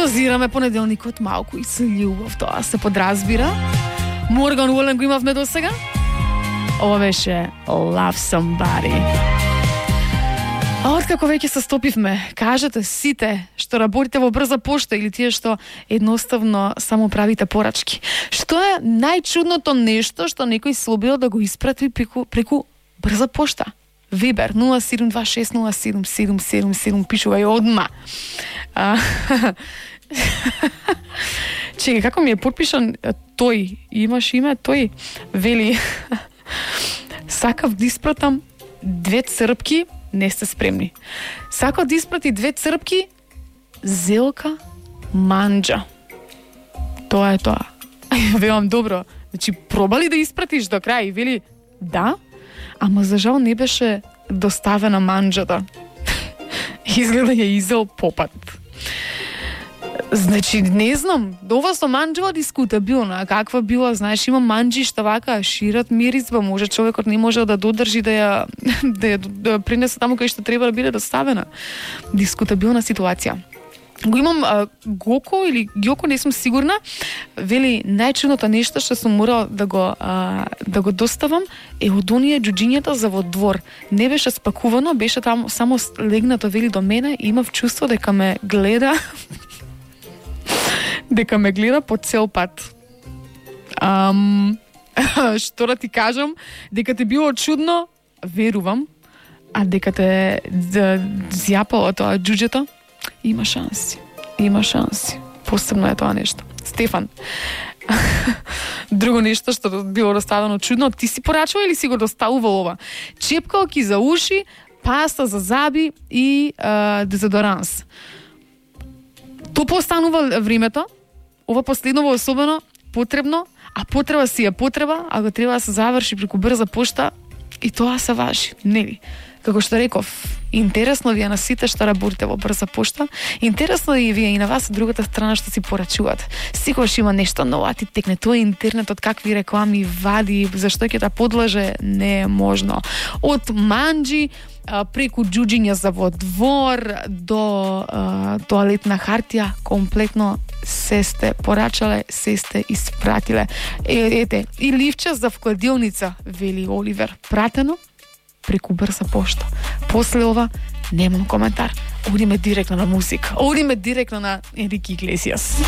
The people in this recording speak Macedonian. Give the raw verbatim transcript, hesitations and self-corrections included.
Прозираме понеделникот малку и со љубов, тоа се подразбира. Морган Уолен го имавме до сега. Ова беше Love Somebody. А откако веќе се стопивме, кажете сите што работите во брза пошта или тие што едноставно само правите порачки. Што е најчудното нешто што некој се обидел да го испрати преку, преку брза пошта? Вибер нула седум два шест нула седум седум седум седум, пишувај одма. А, Чекај, како ми е подпишан тој? Имаш име тој? Вели, сакав да испратам две црпки, не сте спремни. Сакав да испрати две црпки, зелка манџа. Тоа е тоа. Велам, добро, значи пробали да испратиш до крај? Вели, да, ама за жал не беше доставена манџата. Изгледа ја изел попат. Значи, не знам, ова со манџева дискутабилна, каква била, знаеш, има манџи што вака шират миризба, може човекот не може да додржи да ја да ја да принесе таму кај што треба да биде доставена. Дискутабилна ситуација. Го имам а, Гоко или Гјоко, не сум сигурна. Вели, најчудното нешто што сум морал да го а, да го доставам е од оние џуџињата за во двор. Не беше спакувано, беше таму само легнато, вели, до мене и имав чувство дека ме гледа дека ме гледа по цел пат. Ам, што да ти кажам, дека те било чудно, верувам, а дека те зјапало тоа џуџето, има шанси. Има шанси. Посебно е тоа нешто. Стефан. Друго нешто што било доставено чудно, ти си порачува или си го доставувал ова? Чепкалки за уши, паста за заби и а, дезодоранс. То постанува времето, ова последново особено потребно, а потреба си е потреба, а го треба да се заврши преку брза пошта и тоа се важи, нели? Како што реков, интересно ви е на сите што работите во брза пошта, интересно и ви е и на вас од другата страна што си порачуват. Секогаш има нешто ново, а ти текне тоа интернетот, какви реклами вади, зашто ќе да подлаже, не е можно. Од манџи преку џуџиња за во двор до а, тоалетна хартија, комплетно се сте порачале, се сте испратиле. Е, ете, и ливче за вкладилница, вели Оливер, пратено преку брза пошта. После ова немам коментар. Одиме директно на музика. Одиме директно на Енрике Иглесијас.